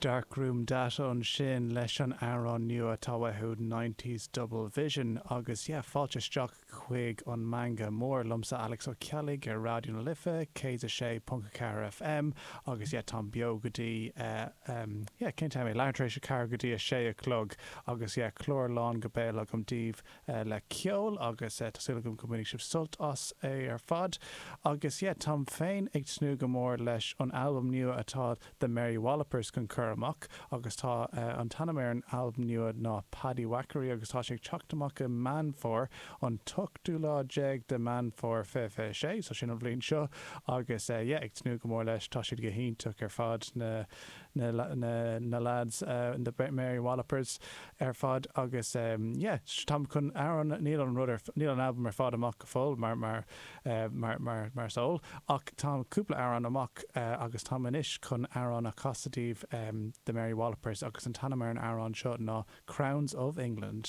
Darkroom Data ansin leis an amhrán nua atá uathu Nineties Double Vision agus yeah fáilte isteach chuig an Meangadh Mór liomsa Alex Ó Ceallaigh ar Raidió na Life 106.4 FM agus yeah táim beo go dtí eh yeah cén t-am é leathuair tar éis a ceathair go dtí a sé a chlog agus yeah clár lán go béal agam daoibh le ceol agus tá súil agam go mbainfidh sibh sult as é ar fad. Agus yeah, táim féin ag tnúth go mór leis an albam nua atá The Mary Wallopers chun cur amach agus tá an t-ainm ar an albam nua ná Paddywhackery agus tá sé ag teacht amach i Meán Fómhair, an t-ochtú lá déag de Meán Fómhair 2026, so sin an bhliain seo agus yeah, ag tnúth go mór leis, tá siad go hiontach ar fad na na na na lads the Mary Wallopers ar fad agus yeah táim chun amhrán níl an rud ar níl an albam ar fad amach go fóill mar mar mar mar mar is eol ach tá cúpla amhrán amach agus táim anois chun amhrán a chasadh daoibh The Mary Wallopers agus an t-ainm ar an amhrán seo ná Crowns of England.